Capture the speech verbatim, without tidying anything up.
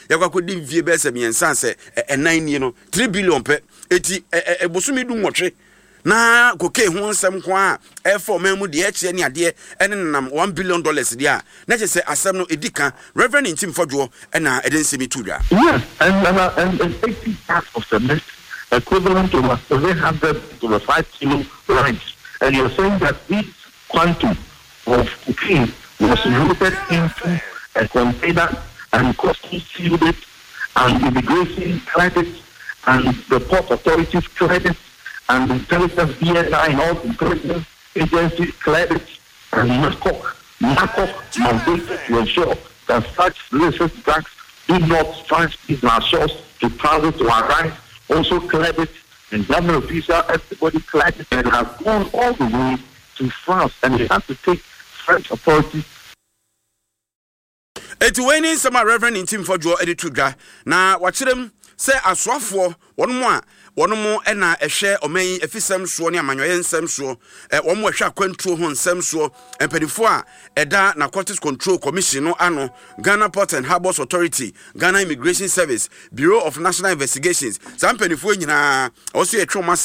Yɛkɔ akɔdi mfie bɛyɛ sɛ mmiɛnsa sɛ ɛnan nie no, three billion pɛ. Eti ɛ ɛ bosome du nwɔtwe na cocaine ho nsɛm ko a ɛfa ɔman mu deɛ ɛkyerɛ ne adeɛ ɛne nenam one billion dollars deɛ a, na kyerɛ sɛ asɛm no ɛdi ka. Reverend Ntim Fordjour ɛna ɛde nsɛm yi to dwa. Yes, and, and, and, and eighty bags of cement equivalent to about seven hundred to five kilo rice. And you're saying that this quantum of cocaine was loaded into a container and customs sealed it and immigration cleared it and the port authorities cleared it and intelligence, B N I and all the intelligence agencies cleared it, and NACOC, NACOC mandated to ensure that such illicit drugs do not transit in our shores to transit to arrive, also cleared it, and government official, everybody cleared it, and has gone all the way to France, and they had to take French authorities. Eti wei ne nsɛm a Reverend Ntim Fordjour de to dwa, na wakyerɛ mu sɛ asoafoɔ wɔn mu a wɔn mo na ɛhwɛ ɔman yi afisɛm soɔ ne amanyɔyɛ nsɛm soɔ, ɛ wɔn mo ɛhwɛ akwantuo ho nsɛm soɔ, mpanimfoɔ a ɛda Narcotics Control Commission no ano, Ghana Port and Harbours Authority, Ghana Immigration Service, Bureau of National Investigations, saa mpanimfoɔ nyinaa ɛwɔ so yɛtwe wɔn ase.